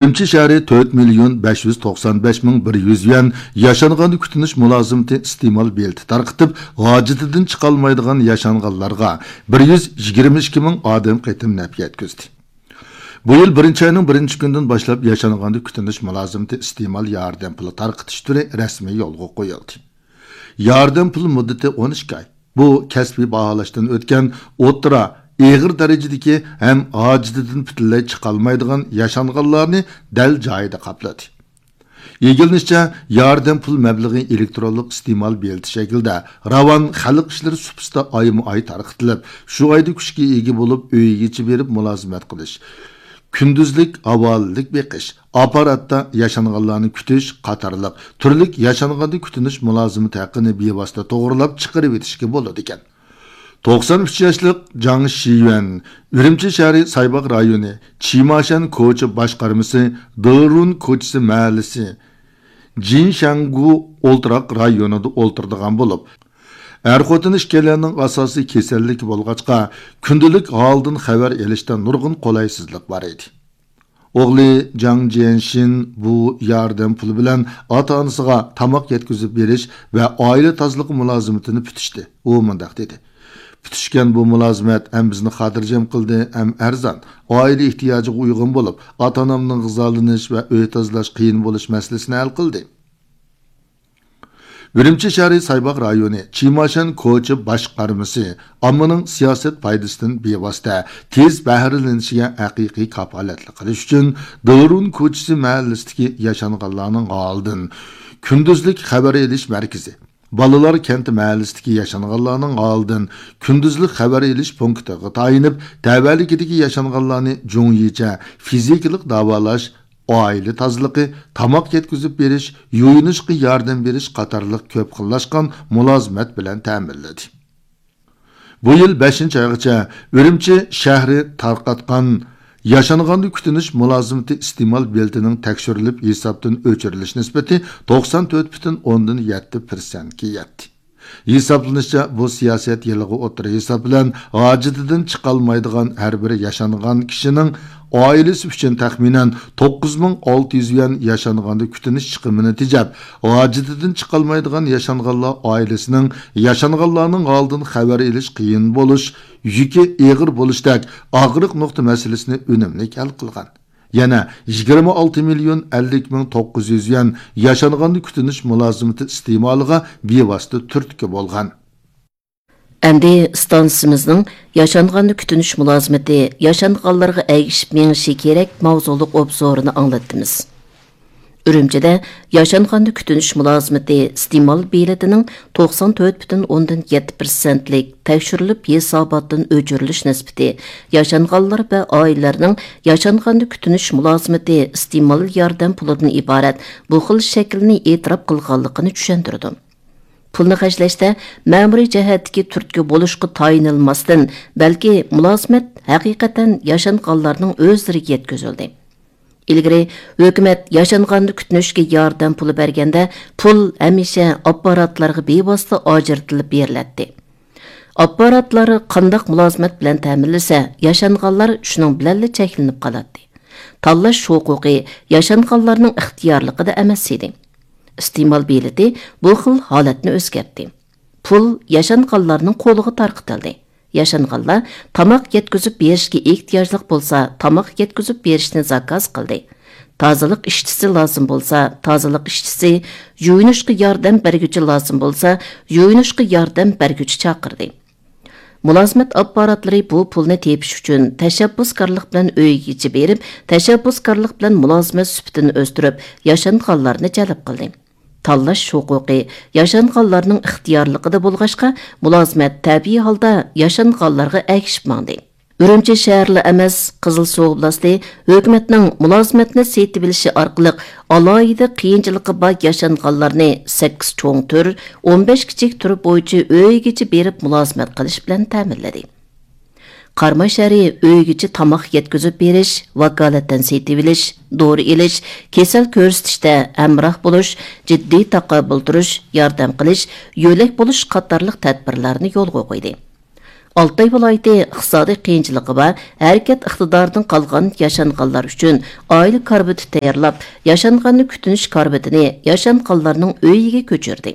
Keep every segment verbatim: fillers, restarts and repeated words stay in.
ئۈرۈمچى شەھىرى تۆت مىليون بەش يۈز توقسان بەش مىڭ بىر يۈز يۈەن ياشانغاندا كۈتۈنۈش مۇلازىمىتى ئىستېمال بېلىتى تارقىتىپ، ھاجىتىدىن چىقالمايدىغان ياشانغانلارغا بىر يۈز يىگىرمە ئىككى مىڭ ئادەم قېتىم نەپ يەتكۈزدى. بۇ يىل بىرىنچى ئاينىڭ بىرىنچى كۈنىدىن باشلاپ ياشانغاندا كۈتۈنۈش مۇلازىمىتى ئىستېمال ياردەم پۇلى تارقىتىش تۈرى رەسمىي يولغا قويۇلدى. ياردەم پۇل مۇددىتى ئون ئىككى ئاي. بۇ كەسپىي باھالاشتىن ئۆتكەن ئوتتۇرا، ئېغىر دەرىجىدىكى ھەم ھاجىتىدىن پۈتۈنلەي چىقالمايدىغان ياشانغانلارنى دەل جايىدا قاپلىدى. ئىگىلىنىشىچە، ياردەم پۇل مەبلىغى ئېلېكترونلۇق ئىستېمال بېلىتى شەكلىدە راۋان خەلق ئىشلىرى سۇپىسىدا ئايمۇ ئاي تارقىتىلىپ، شۇ ئايدا كۈچكە ئىگە بولۇپ، ئۆيىگىچە بېرىپ مۇلازىمەت قىلىش، كۈندۈزلۈك ھاۋالىلىك بېقىش، ئاپپاراتتا ياشانغانلارنى كۈتۈش قاتارلىق تۈرلۈك ياشانغاندا كۈتۈنۈش مۇلازىمىتى ھەققىنى بىۋاسىتە توغرىلاپ چىقىرىۋېتىشكە بولىدىكەن. توقسان ئۈچ ياشلىق جاڭ شىيۈەن، ئۈرۈمچى شەھىرى سايباغ رايونى چىماشەن كوچا باشقارمىسى دېرۇن كوچىسى مەھەللىسى جىنشەنگۇ ئولتۇراق رايونىدا ئولتۇرىدىغان بولۇپ، ئەر-خوتۇن ئىككىيلەننىڭ ئاساسىي كېسەللىكى بولغاچقا، كۈندىلىك ھالدىن خەۋەر ئېلىشتا نۇرغۇن قولايسىزلىق بار ئىدى. ئوغلى جاڭ جيەنشىن بۇ ياردەم پۇلى بىلەن ئاتا-ئانىسىغا تاماق يەتكۈزۈپ بېرىش ۋە ئائىلە تازىلىقى مۇلازىمىتىنى پۈتۈشتى. ئۇ مۇنداق دېدى: «پۈتۈشكەن بۇ مۇلازىمەت ھەم بىزنى خاتىرجەم قىلدى، ھەم ئەرزان، ئائىلە ئېھتىياجىغا ئۇيغۇن بولۇپ، ئاتا-ئانامنىڭ غىزالىنىش ۋە ئۆي تازىلاش قىيىن بولۇش مەسىلىسىنى ھەل قىلدى.» ئۈرۈمچى شەھىرى سايباغ رايونى چىماشەن كوچا باشقارمىسى ئاممىنىڭ سىياسەت پايدىسىدىن بىۋاسىتە تېز بەھرىلىنىشىگە ھەقىقىي كاپالەتلىك قىلىش ئۈچۈن، دېرۇن كوچىسى مەھەللىسىدىكى ياشانغانلارنىڭ ھالىدىن كۈندۈزلۈك خەۋەر ئېلىش مەركىزى، بالىلار كەنتى مەھەللىسىدىكى ياشانغانلارنىڭ ھالىدىن كۈندۈزلۈك خەۋەر ئېلىش پونكىتىغا تايىنىپ، تەۋەلىكىدىكى ياشانغانلارنى جۇڭيىچە فىزىكىلىق داۋالاش، ئائىلە تازىلىقى، تاماق يەتكۈزۈپ بېرىش، يۇيۇنۇشقا ياردەم بېرىش قاتارلىق كۆپ خىللاشقان مۇلازىمەت بىلەن تەمىنلىدى. بۇ يىل بەشىنچى ئايغىچە ئۈرۈمچى شەھىرى تارقاتقان ياشانغاندا كۈتۈنۈش مۇلازىمىتى ئىستېمال بېلىتىنىڭ تەكشۈرۈلۈپ ھېسابتىن ئۆچۈرۈلۈش نىسبىتى توقسان تۆت پۈتۈن ئوندىن يەتتە پىرسەنتكە يەتتى. ھېسابلىنىشىچە، بۇ سىياسەت يىلىغا ئوتتۇرا ھېساب بىلەن ھاجىتىدىن چىقالمايدىغان ھەر بىر ياشانغان كىشىنىڭ ئائىلىسى ئۈچۈن تەخمىنەن توققۇز مىڭ ئالتە يۈز يۈەن ياشانغاندا كۈتۈنۈش چىقىمىنى تېجەپ، ھاجىتىدىن چىقالمايدىغان ياشانغانلار ئائىلىسىنىڭ ياشانغانلارنىڭ ھالىدىن خەۋەر ئېلىش قىيىن بولۇش يۈكى ئېغىر بولۇشتەك ئاغرىق نۇقتا مەسىلىسىنى ئۈنۈملۈك ھەل قىلغان. يەنە يىگىرمە ئالتە مىليون ئەللىك مىڭ توققۇز يۈز يۈەن ياشانغاندا كۈتۈنۈش مۇلازىمىتى ئىستېمالىغا بىۋاسىتە تۈرتكە بولغان. ئەمدى ئىستانسىمىزنىڭ ياشانغاندا كۈتۈنۈش مۇلازىمىتى ياشانغانلارغا ئەگىشىپ مېڭىشى كېرەك ماۋزۇلۇق ئوبزورىنى ئاڭلاتتىمىز. ئۈرۈمچىدە ياشانغاندا كۈتۈنۈش مۇلازىمىتى ئىستېمال بېلىتىنىڭ توقسان تۆت پۈتۈن ئوندىن يەتتە پىرسەنتلىك تەكشۈرۈلۈپ ھېساباتتىن ئۆچۈرۈلۈش نىسبىتى ياشانغانلار ۋە ئائىلىلەرنىڭ ياشانغاندا كۈتۈنۈش مۇلازىمىتى ئىستېمال ياردەم پۇلىدىن ئىبارەت بۇ خىل شەكىلنى ئېتىراپ قىلغانلىقىنى چۈشەندۈرىدۇ. پۇلنى خەجلەشتە مەمۇرىي جەھەتتىكى تۈرتكە بولۇشقا تايىنىلماستىن، بەلكى مۇلازىمەت ھەقىقەتەن ياشانغانلارنىڭ ئۆزلىرىگە يەتكۈزۈلدى. ئىلگىرى ھۆكۈمەت ياشانغاندا كۈتۈنۈشكە ياردەم پۇلى بەرگەندە، پۇل ھەمىشە ئاپپاراتلارغا بىۋاسىتە ئاجرىتىلىپ بېرىلەتتى. ئاپپاراتلار قانداق مۇلازىمەت بىلەن تەمىنلىسە، ياشانغانلار شۇنىڭ بىلەنلا چەكلىنىپ قالاتتى. تاللاش ھوقۇقى ياشانغانلارنىڭ ئىختىيارلىقىدا ئەمەس ئىدى. ئىستېمال بېلىتى بۇ خىل ھالەتنى ئۆزگەرتتى. پۇل ياشانغانلارنىڭ قولىغا تارقىتىلدى. ياشانغانلار تاماق يەتكۈزۈپ بېرىشكە ئېھتىياجلىق بولسا، تاماق يەتكۈزۈپ بېرىشنى زاكاز قىلدى. تازىلىق ئىشچىسى لازىم بولسا، تازىلىق ئىشچىسى، يۇيۇنۇشقا ياردەم بەرگۈچى لازىم بولسا، يۇيۇنۇشقا ياردەم بەرگۈچى چاقىردى. مۇلازىمەت ئاپپاراتلىرى بۇ پۇلنى تېپىش ئۈچۈن تەشەببۇسكارلىق بىلەن ئۆيگىچە بېرىپ، تەشەببۇسكارلىق بىلەن مۇلازىمەت سۈپىتىنى ئۆستۈرۈپ، ياشانغانلارنى جەلپ قىلدى. تاللاش ھوقۇقى ياشانغانلارنىڭ ئىختىيارلىقىدا بولغاچقا، مۇلازىمەت تەبىئىي ھالدا ياشانغانلارغا ئەگىشىپ ماڭدى. ئۈرۈمچى شەھەرلا ئەمەس، قىزىلسۇ ئوبلاستى ھۆكۈمەتنىڭ مۇلازىمەتنى سېتىۋېلىشى ئارقىلىق ئالاھىدە قىيىنچىلىقى بار ياشانغانلارنى سەككىز چوڭ تۈر، ئون بەش كىچىك تۈر بويىچە ئۆيىگىچە بېرىپ مۇلازىمەت قىلىش بىلەن تەمىنلىدى. قاراماي شەھىرى ئۆيگىچە تاماق يەتكۈزۈپ بېرىش، ۋاكالىتەن سېتىۋېلىش، دورا ئېلىش، كېسەل كۆرسىتىشتە ھەمراھ بولۇش، جىددىي تاقابىل تۇرۇش، ياردەم قىلىش، يۆلەك بولۇش قاتارلىق تەدبىرلەرنى يولغا قويدى. ئالتاي ۋىلايىتى ئىقتىسادىي قىيىنچىلىقى بار، ھەرىكەت ئىقتىدارىدىن قالغان ياشانغانلار ئۈچۈن ئائىلە كاربىتى تەييارلاپ، ياشانغاننى كۈتۈنۈش كاربىتىنى ياشانغانلارنىڭ ئۆيىگە كۆچۈردى.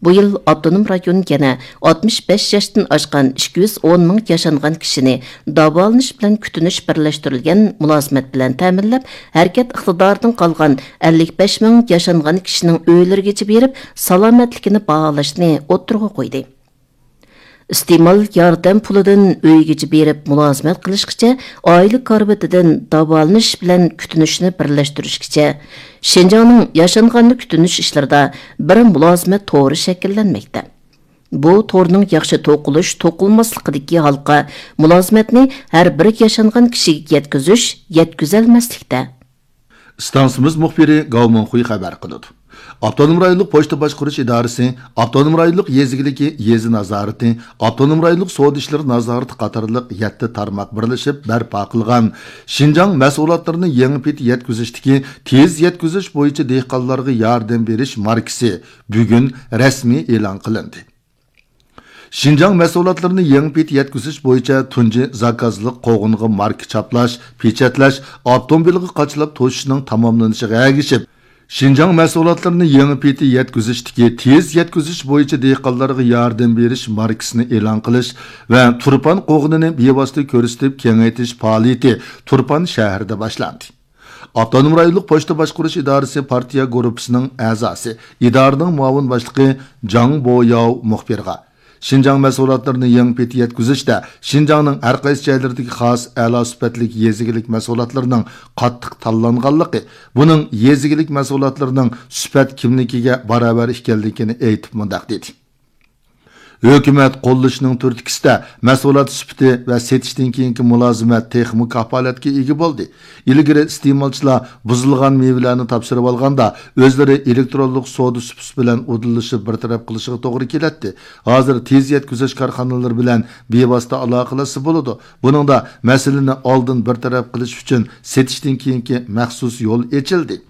بۇ يىل ئاپتونوم رايون يەنە ئاتمىش بەش ياشتىن ئاشقان ئىككى يۈز ئون مىڭ ياشانغان كىشىنى داۋالىنىش بىلەن كۈتۈنۈش بىرلەشتۈرۈلگەن مۇلازىمەت بىلەن تەمىنلەپ، ھەرىكەت ئىقتىدارىدىن قالغان ئەللىك بەش مىڭ ياشانغان كىشىنىڭ ئۆيلىرىگىچە بېرىپ، سالامەتلىكىنى باھالاشنى ئوتتۇرىغا قويدى. ئىستېمال ياردەم پۇلىدىن ئۆيگىچە بېرىپ مۇلازىمەت قىلىشقىچە، ئائىلە كارىۋىتىدىن داۋالىنىش بىلەن كۈتۈنۈشنى بىرلەشتۈرۈشكىچە، شىنجاڭنىڭ ياشانغاننى كۈتۈنۈش ئىشلىرىدا بىر مۇلازىمەت تورى شەكىللەنمەكتە. بۇ تورنىڭ ياخشى توقۇلۇش، توقۇلماسلىقىدىكى ھالقا مۇلازىمەتنى ھەر بىر ياشانغان كىشىگە يەتكۈزۈش، يەتكۈزەلمەسلىكتە. ئىستانسىمىز مۇخبىرى گاۋ مىڭخۇي خەۋەر قىلىدۇ. ئاپتونوم رايونلۇق پوچتا باشقۇرۇش ئىدارىسى، ئاپتونوم رايونلۇق يېزا ئىگىلىكى يېزا نازارىتى، ئاپتونوم رايونلۇق سودا ئىشلىرى نازارىتى قاتارلىق يەتتە تارماق بىرلىشىپ بەرپا قىلغان شىنجاڭ مەھسۇلاتلىرىنى يېڭى پېتى يەتكۈزۈشتىكى تېز يەتكۈزۈش بويىچە دېھقانلارغا ياردەم بېرىش ماركىسى بۈگۈن رەسمىي ئېلان قىلىندى. شىنجاڭ مەھسۇلاتلىرىنى يېڭى پېتى يەتكۈزۈش بويىچە تۇنجى زاكازلىق قوغۇنغا ماركا چاپلاش، پېچەتلەش ئاپتوموبىلغا قاچىلاپ توشۇشنىڭ تاماملىنىشىغا ئەگىشىپ، شىنجاڭ مەھسۇلاتلىرىنى يېڭى پېتى يەتكۈزۈشتىكى تېز يەتكۈزۈش بويىچە دېھقانلارغا ياردەم بېرىش ماركىسىنى ئېلان قىلىش ۋە تۇرپان قوغۇنىنى بىۋاسىتە كۆرسىتىپ كېڭەيتىش پائالىيىتى تۇرپان شەھىرىدە باشلاندى. ئاپتونوم رايونلۇق پوچتا باشقۇرۇش ئىدارىسى پارتىيە گۇرۇپپىسىنىڭ ئەزاسى، ئىدارىنىڭ مۇئاۋىن باشلىقى جاڭ بوياۋ مۇخبىرغا، شىنجاڭ مەھسۇلاتلىرىنى يېڭى پېتى يەتكۈزۈشتە شىنجاڭنىڭ ھەر قايسى جايلىرىدىكى خاس ئەلا سۈپەتلىك يېزا ئىگىلىك مەھسۇلاتلىرىنىڭ قاتتىق تاللانغانلىقى، بۇنىڭ يېزا ئىگىلىك مەھسۇلاتلىرىنىڭ سۈپەت كىملىكىگە باراۋەر ئىكەنلىكىنى ئېيتىپ مۇنداق دېدى. ھۆكۈمەت قوللىشىنىڭ تۈرتكىسىدە مەھسۇلات سۈپىتى ۋە سېتىشتىن كېيىنكى مۇلازىمەت تېخىمۇ كاپالەتكە ئىگە بولدى. ئىلگىرى ئىستېمالچىلار بۇزۇلغان مېۋىلەرنى تاپشۇرۇۋالغاندا، ئۆزلىرى ئېلېكترونلۇق سودا سۇپىسى بىلەن ئۇدۇللىشىپ بىر تەرەپ قىلىشىغا توغرا كېلەتتى. ھازىر تېز يەتكۈزۈش كارخانىلىرى بىلەن بىۋاسىتە ئالاقىلەشسە بولىدۇ. بۇنىڭدا مەسىلىنى ئالدىن بىر تەرەپ قىلىش ئۈچۈن سېتىشتىن كېيىنكى مەخسۇس يول ئېچىلدى.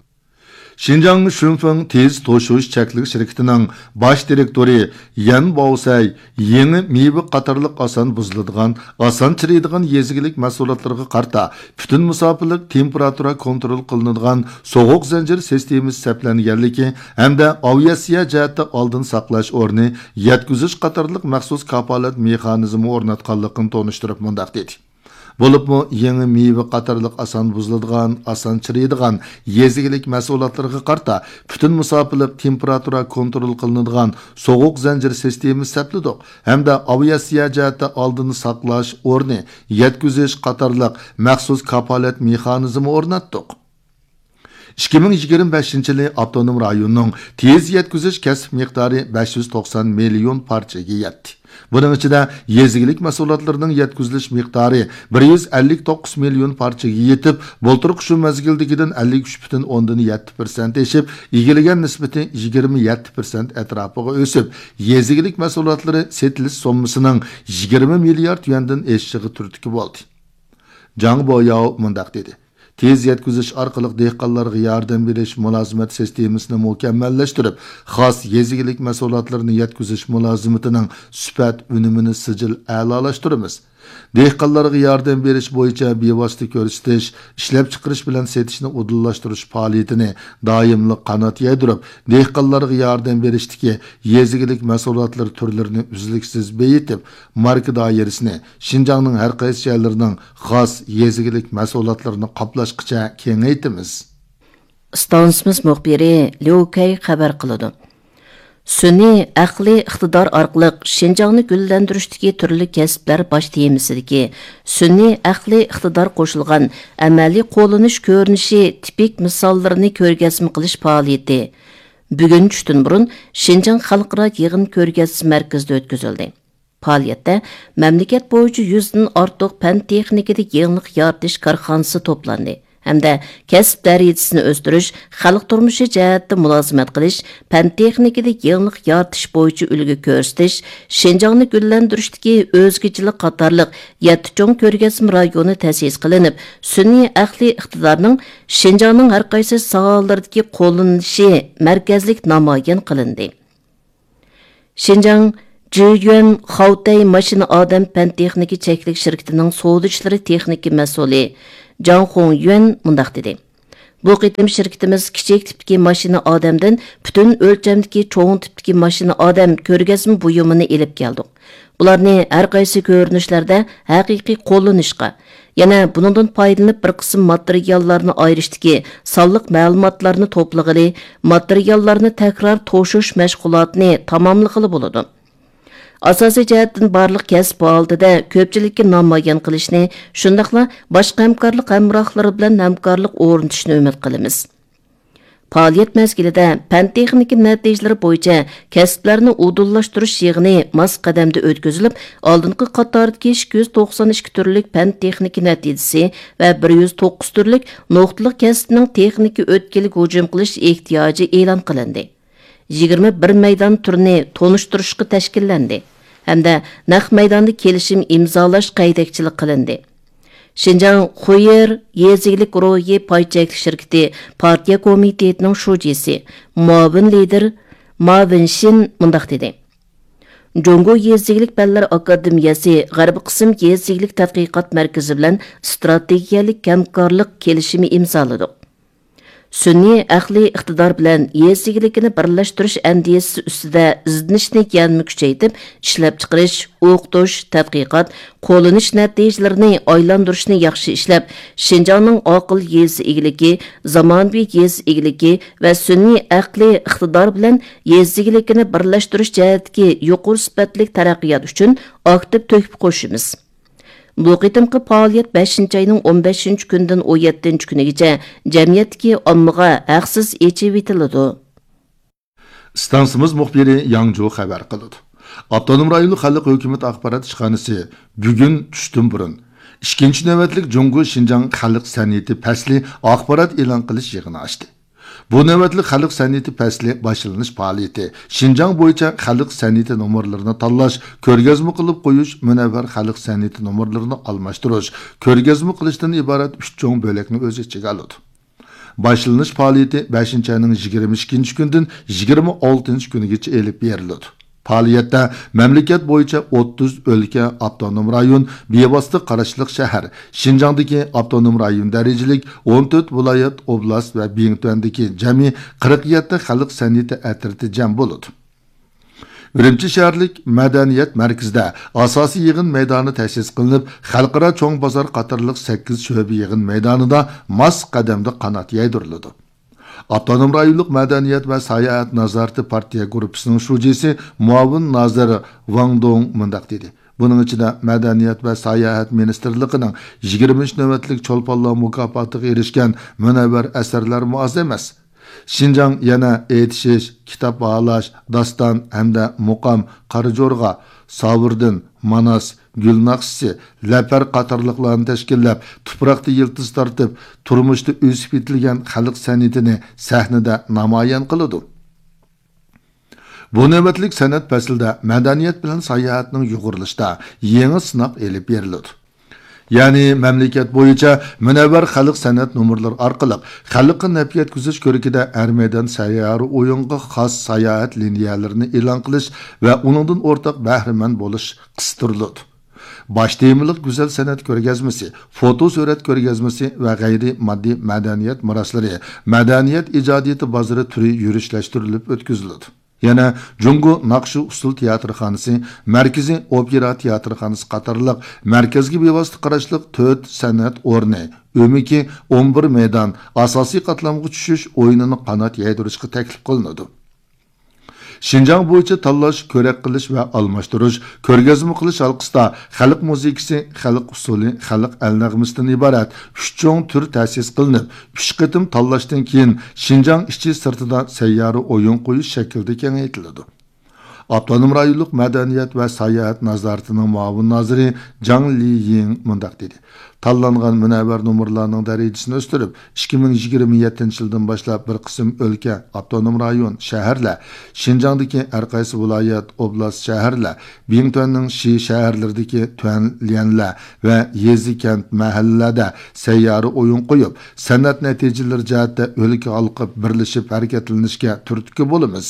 شىنجاڭ شۈنفېڭ تېز توشۇش چەكلىك شىركىتىنىڭ باش دىرېكتورى يەن باۋسەي يېڭى مېۋە قاتارلىق ئاسان بۇزۇلىدىغان، ئاسان چىرىيدىغان يېزا ئىگىلىك مەھسۇلاتلىرىغا قارىتا پۈتۈن مۇساپىلىك تېمپېراتۇرا كونترول قىلىنىدىغان سوغۇق زەنجىر سىستېمىسى سەپلەنگەنلىكى ھەمدە ئاۋىئاتسىيە جەھەتتە ئالدىن ساقلاش ئورنى، يەتكۈزۈش قاتارلىق مەخسۇس كاپالەت مېخانىزمى ئورناتقانلىقىنى تونۇشتۇرۇپ مۇنداق دېدى. بولۇپمۇ يېڭى مېۋە قاتارلىق ئاسان بۇزۇلىدىغان، ئاسان چىرىيدىغان يېزا ئىگىلىك مەھسۇلاتلىرىغا قارىتا پۈتۈن مۇساپىلىق تېمپېراتۇرا كونترول قىلىنىدىغان سوغۇق زەنجىر سىستېمىسى سەپلىدۇق ھەمدە ئاۋىئاتسىيە جەھەتتە ئالدىن ساقلاش ئورنى، يەتكۈزۈش قاتارلىق مەخسۇس كاپالەت مېخانىزمى ئورناتتۇق. ئىككى مىڭ يىگىرمە بەشىنچى يىلى ئاپتونوم رايوننىڭ تېز يەتكۈزۈش كەسىپ مىقدارى بەش يۈز توقسان مىليون پارچىگە يەتتى. بۇنىڭ ئىچىدە يېزا ئىگىلىك مەھسۇلاتلىرىنىڭ يەتكۈزۈلۈش مىقدارى بىر يۈز ئەللىك توققۇز مىليون پارچىگە يېتىپ، بۇلتۇرقى شۇ مەزگىلدىكىدىن ئەللىك ئۈچ پۈتۈن ئوندىن يەتتە پىرسەنت ئېشىپ، ئىگىلىگەن نىسبىتى يىگىرمە يەتتە پىرسەنت ئەتراپىغا ئۆسۈپ، يېزا ئىگىلىك مەھسۇلاتلىرى سېتىلىش سوممىسىنىڭ يىگىرمە مىليارد يۈەندىن ئېشىشىغا تۈرتكە بولدى. جاڭ بوياۋ مۇنداق دېدى. تېز يەتكۈزۈش ئارقىلىق دېھقانلارغا ياردەم بېرىش مۇلازىمەت سىستېمىسىنى مۇكەممەللەشتۈرۈپ، خاس يېزا ئىگىلىك مەھسۇلاتلىرىنى يەتكۈزۈش مۇلازىمىتىنىڭ سۈپەت ئۈنۈمىنى سىجىل ئەلالاشتۇرىمىز. دېھقانلارغا ياردەم بېرىش بويىچە بىۋاسىتە كۆرسىتىش، ئىشلەپچىقىرىش بىلەن سېتىشنى ئۇدۇللاشتۇرۇش پائالىيىتىنى دائىملىق قانات يايدۇرۇپ، دېھقانلارغا ياردەم بېرىشتىكى يېزا ئىگىلىك مەھسۇلاتلىرى تۈرلىرىنى ئۈزلۈكسىز بېيىتىپ، ماركا دائىرىسىنى شىنجاڭنىڭ ھەر قايسى جايلىرىنىڭ خاس يېزا ئىگىلىك مەھسۇلاتلىرىنى قاپلاشقىچە كېڭەيتىمىز. ئىستانسىمىز مۇخبىرى ليۇ كەي خەۋەر قىلىدۇ. سۈنئىي ئەقلىي ئىقتىدار ئارقىلىق شىنجاڭنى گۈللەندۈرۈشتىكى تۈرلۈك كەسىپلەر باش تېمىسىدىكى سۈنئىي ئەقلىي ئىقتىدار قوشۇلغان ئەمەلىي قوللىنىش كۆرۈنۈشى تىپىك مىساللىرىنى كۆرگەزمە قىلىش پائالىيىتى بۈگۈن چۈشتىن بۇرۇن شىنجاڭ خەلقئارا يىغىن كۆرگەزمە مەركىزىدە ئۆتكۈزۈلدى. پائالىيەتتە مەملىكەت بويىچە يۈزدىن ئارتۇق پەن تېخنىكىدا يېڭىلىق يارىتىش كارخانىسى توپلاندى ھەمدە كەسىپ دەرىجىسىنى ئۆستۈرۈش، خەلق تۇرمۇشى جەھەتتە مۇلازىمەت قىلىش، پەن تېخنىكىدا يېڭىلىق يارىتىش بويىچە ئۈلگە كۆرسىتىش، شىنجاڭنى گۈللەندۈرۈشتىكى ئۆزگىچىلىك قاتارلىق يەتتە چوڭ كۆرگەزمە رايونى تەسىس قىلىنىپ، سۈنئىي ئەقلىي ئىقتىدارنىڭ شىنجاڭنىڭ ھەر قايسى ساھەلىرىدىكى قوللىنىلىشى مەركەزلىك نامايان قىلىندى. شىنجاڭ جيۈەن خاۋتەي ماشىنا ئادەم پەن تېخنىكا چەكلىك شىركىتىنىڭ سودا ئىشلىرى تېخنىكا مەسئۇلى جاڭ خۇڭيۈەن مۇنداق دېدى: بۇ قېتىم شىركىتىمىز كىچىك تىپتىكى ماشىنا ئادەمدىن پۈتۈن ئۆلچەمدىكى چوڭ تىپتىكى ماشىنا ئادەم كۆرگەزمە بۇيۇمىنى ئېلىپ كەلدۇق. بۇلارنى ھەر قايسى كۆرۈنۈشلەردە ھەقىقىي قوللىنىشقا، يەنە بۇنىڭدىن پايدىلىنىپ بىر قىسىم ماتېرىياللارنى ئايرىشتىكى سانلىق مەلۇماتلارنى توپلىغىلى، ماتېرىياللارنى تەكرار توشۇش مەشغۇلاتىنى تاماملىغىلى بولىدۇ. ئاساسىي جەھەتتىن بارلىق كەسىپ ھالىتىدە كۆپچىلىككە نامايان قىلىشنى، شۇنداقلا باشقا ھەمكارلىق ھەمراھلىرى بىلەن ھەمكارلىق ئورنىتىشنى ئۈمىد قىلىمىز. پائالىيەت مەزگىلىدە پەن تېخنىكا نەتىجىلىرى بويىچە كەسىپلەرنى ئۇدۇللاشتۇرۇش يىغىنى ماس قەدەمدە ئۆتكۈزۈلۈپ، ئالدىنقى قاتاردىكى ئىككى يۈز توقسان ئىككى تۈرلۈك پەن تېخنىكا نەتىجىسى ۋە بىر يۈز توققۇز تۈرلۈك نۇقتىلىق كەسىپنىڭ تېخنىكا ئۆتكىلىگە ھۇجۇم قىلىش ئېھتىياجى ئېلان قىلىندى. يىگىرمە بىر مەيدان تۈرىنى تونۇشتۇرۇشقا تەشكىللەندى ھەمدە نەق مەيداندا كېلىشىم ئىمزالاش ھەيدەكچىلىك قىلىندى. شىنجاڭ خۇيېر يېزا ئىگىلىك روھى پاي چەكلىك شىركىتى پارتىيە كومىتېتىنىڭ شۇجىسى، مۇئاۋىن لىدىر ما ۋېنشىن مۇنداق دېدى: جۇڭگو يېزا ئىگىلىك پەنلەر ئاكادېمىيەسى غەربىي قىسىم يېزا ئىگىلىك تەتقىقات مەركىزى بىلەن ئىستراتېگىيەلىك ھەمكارلىق كېلىشىمى ئىمزالىدۇق. سۈنئىي ئەقلىي ئىقتىدار بىلەن يېزا ئىگىلىكىنى بىرلەشتۈرۈش ئەندىزىسى ئۈستىدە ئىزدىنىشنى يەنىمۇ كۈچەيتىپ، ئىشلەپچىقىرىش، ئوقۇتۇش، تەتقىقات، قوللىنىش نەتىجىلىرىنى ئايلاندۇرۇشنى ياخشى ئىشلەپ، شىنجاڭنىڭ ئاقىل يېزا ئىگىلىكى، زامانىۋى يېزا ئىگىلىكى ۋە سۈنئىي ئەقلىي ئىقتىدار بىلەن يېزا ئىگىلىكىنى بىرلەشتۈرۈش جەھەتتىكى يۇقىرى سۈپەتلىك تەرەققىيات ئۈچۈن ئاكتىپ تۆھپە قوشىمىز. بۇ قېتىمقى پائالىيەت بەشىنچى ئاينىڭ ئون بەشىنچى كۈنىدىن ئون يەتتىنچى كۈنىگىچە جەمئىيەتتىكى ئاممىغا ھەقسىز ئېچىۋېتىلىدۇ. ئىستانسىمىز مۇخبىرى ياڭجۇ خەۋەر قىلىدۇ. ئاپتونوم رايونلۇق خەلق ھۆكۈمىتى ئاخبارات ئىشخانىسى بۈگۈن چۈشتىن بۇرۇن ئىككىنچى نۆۋەتلىك جۇڭگو شىنجاڭ خەلق سەنئىتى پەسلى ئاخبارات ئېلان قىلىش يىغىنى ئاچتى. بۇ نۆۋەتلىك خەلق سەنئىتى پەسلى باشلىنىش پائالىيىتى شىنجاڭ بويىچە خەلق سەنئىتى نومۇرلىرىنى تاللاش، كۆرگەزمە قىلىپ قويۇش، مۇنەۋۋەر خەلق سەنئىتى نومۇرلىرىنى ئالماشتۇرۇش، كۆرگەزمە قىلىشتىن ئىبارەت ئۈچ چوڭ بۆلەكنى ئۆز ئىچىگە ئالىدۇ. باشلىنىش پائالىيىتى بەشىنچى ئاينىڭ يىگىرمە ئىككىنچى كۈنىدىن يىگىرمە ئالتىنچى كۈنىگىچە ئېلىپ بېرىلىدۇ. پائالىيەتتە مەملىكەت بويىچە ئوتتۇز ئۆلكە، ئاپتونوم رايون، بىۋاسىتە قاراشلىق شەھەر، شىنجاڭدىكى ئاپتونوم رايون دەرىجىلىك ئون تۆت ۋىلايەت، ئوبلاست ۋە بىڭتۈەندىكى جەمئىي قىرىق يەتتە خەلق سەنئىتى ئەترىتى جەم بولىدۇ. ئۈرۈمچى شەھەرلىك مەدەنىيەت مەركىزىدە ئاساسىي يىغىن مەيدانى تەسىس قىلىنىپ، خەلقئارا چوڭ بازار قاتارلىق سەككىز شۆبە يىغىن مەيدانىدا ماس قەدەمدە قانات يايدۇرۇلىدۇ. ئاپتونوم رايونلۇق مەدەنىيەت ۋە ساياھەت نازارىتى پارتىيە گۇرۇپپىسىنىڭ شۇجىسى، مۇئاۋىن نازىر ۋاڭ دۇڭ مۇنداق دېدى: بۇنىڭ ئىچىدە مەدەنىيەت ۋە ساياھەت مىنىستىرلىقىنىڭ يىگىرمىنچى نۆۋەتلىك چولپانلار مۇكاپاتىغا ئېرىشكەن مۇنەۋۋەر ئەسەرلەرمۇ ئاز ئەمەس. شىنجاڭ يەنە ئېيتىشىش، كىتاب باھالاش، داستان ھەمدە مۇقام، قارا جورغا، ساۋۇردىن، ماناس، گۈل ناخشىسى، لەپەر قاتارلىقلارنى تەشكىللەپ، تۇپراقتا يىلتىز تارتىپ، تۇرمۇشتا ئۆسۈپ يېتىلگەن خەلق سەنئىتىنى سەھنىدە نامايان قىلىدۇ. بۇ نۆۋەتلىك سەنئەت پەسلىدە مەدەنىيەت بىلەن ساياھەتنىڭ يۇغۇرۇلۇشىدا يېڭى سىناق ئېلىپ بېرىلىدۇ. يەنى مەملىكەت بويىچە مۇنەۋۋەر خەلق سەنئەت نومۇرلىرى ئارقىلىق خەلققە نەپ يەتكۈزۈش كۆرىكىدە ھەر مەيدان سەييارە ئويۇنغا خاس ساياھەت لىنىيەلىرىنى ئېلان قىلىش ۋە ئۇنىڭدىن ئورتاق بەھرىمەن بولۇش قىستۇرۇلىدۇ. باش تېمىلىق گۈزەل سەنئەت كۆرگەزمىسى، فوتو سۈرەت كۆرگەزمىسى ۋە غەيرىي ماددىي مەدەنىيەت مىراسلىرى، مەدەنىيەت ئىجادىيىتى بازىرى تۈرى يۈرۈشلەشتۈرۈلۈپ ئۆتكۈزۈلىدۇ. يەنە جۇڭگو ناخشا ئۇسسۇل تىياتىرخانىسى، مەركىزىي ئوپېرا تىياتىرخانىسى قاتارلىق مەركەزگە بىۋاسىتە قاراشلىق تۆت سەنئەت ئورنى، ئۆمىكى ئون بىر مەيدان ئاساسىي قاتلامغا چۈشۈش ئويۇنىنى قانات يايدۇرۇشقا تەكلىپ قىلىنىدۇ. شىنجاڭ بويىچە تاللاش، كۆرەك قىلىش ۋە ئالماشتۇرۇش، كۆرگەزمە قىلىش ھالقىسىدا خەلق مۇزىكىسى، خەلق ئۇسسۇلى، خەلق ئەلنەغمىسىدىن ئىبارەت ئۈچ چوڭ تۈر تەسىس قىلىنىپ، ئۈچ قېتىم تاللاشتىن كېيىن شىنجاڭ ئىچى سىرتىدا سەييارە ئويۇن قويۇش شەكلىدە كېڭەيتىلىدۇ. ئاپتونوم رايونلۇق مەدەنىيەت ۋە ساياھەت نازارىتىنىڭ مۇئاۋىن نازىرى جاڭ لىيىڭ مۇنداق دېدى: تاللانغان مۇنەۋۋەر نومۇرلارنىڭ دەرىجىسىنى ئۆستۈرۈپ، ئىككى مىڭ يىگىرمە يەتتىنچى يىلدىن باشلاپ بىر قىسىم ئۆلكە، ئاپتونوم رايون، شەھەرلەر، شىنجاڭدىكى ھەر قايسى ۋىلايەت، ئوبلاست، شەھەرلەر، بىڭتۈەننىڭ شى شەھەرلىرىدىكى تۈەن ليەنلەر ۋە يېزا، كەنت، مەھەللىلەردە سەييارە ئويۇن قويۇپ، سەنئەت نەتىجىلىرى جەھەتتە ئۆلكە ھالقىپ بىرلىشىپ ھەرىكەتلىنىشكە تۈرتكە بولىمىز.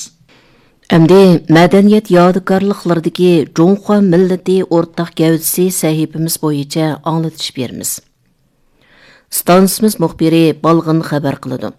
ئەمدى مەدەنىيەت يادىكارلىقلىرىدىكى جۇڭخۇا مىللىتى ئورتاق گەۋدىسى سەھىپىمىز بويىچە ئاڭلىتىش بېرىمىز. ئىستانسىمىز مۇخبىرى بالغىن خەۋەر قىلىدۇ.